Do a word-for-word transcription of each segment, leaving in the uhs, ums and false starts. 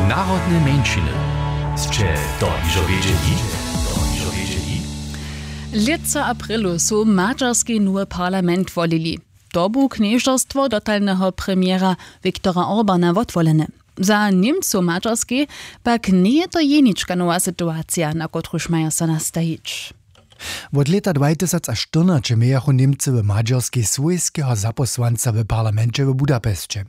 Narodne mjeńšiny. Sće to hižo wědźeli? To hižo wědźeli? Lětsa aprilu su w Mađarskej nowy parlament wolili. To bu knježerstwo dotalneho premjera Viktora Orbana wotwolene. Za Němcow w Mađarskej pak njeje to jenička nowa situacija, na kotruž maja so nastajić. Wot lěta dwajtysacaštyrnaće mějachu Němcy w Mađarskej swójskeho zapósłanca w parlamenće w Budapesće.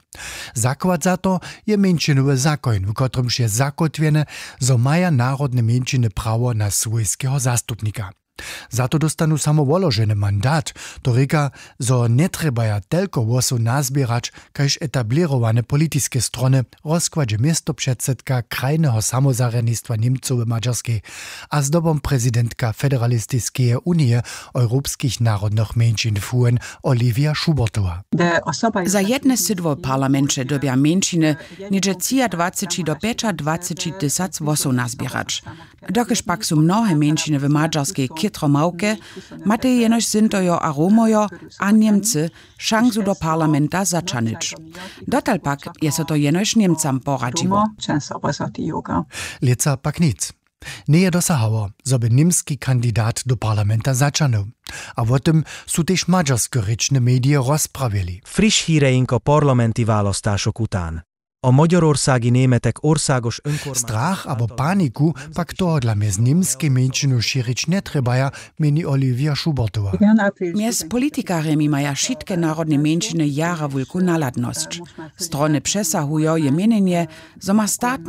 Zakład za to je mjeńšinowy zakoń, w kotrymž je zakótwjene, zo maja narodne mjeńšiny prawo na swójskeho zastupnika. Za to dóstanu samo woloženy mandat. To rěka, zo njetrjebaja telko hłosow nazběrać kaž etablěrowane politiske strony, w rozkładźe městopředsydka krajneho samozarjadnistwa Němcow w Mađarskej a zdobom prezidentka Federalistiskeje unije europskich narodnych mjeńšin fuen Olivia Schubertowa. Za jedne sydło w parlamenće dyrbja mjeńšiny něhdźe třiadwaceći do pjećadwaceći tysac hłosow nazběrać. Dokelž pak su mnohe mjeńšiny w Mađarskej chětro małke, matej jenož Sintojo a Romojo a Němcy šansu do parlamenta zaćahnyć. Dotal pak je so to jenož Němcam poradźiło. Lětsa pak nic. Njeje dosahało, zo by němski kandidat do parlamenta zaćahnył. A wo tym su tež mađarskorěčne medije rozprawjeli. Friš híreinko parlamenti választások után. A Mađarorsági németek orságos önkormányzat. Strach abo paniku pak tohodla mjez němskej mjeńšinu šěrić njetrjebaja, měni Olivia Schubertowa. Mjez politikarjemi maja wšitke narodne mjeńšiny jara wulku nahladnosć. Strony přesahujo je měnjenje, zo ma statny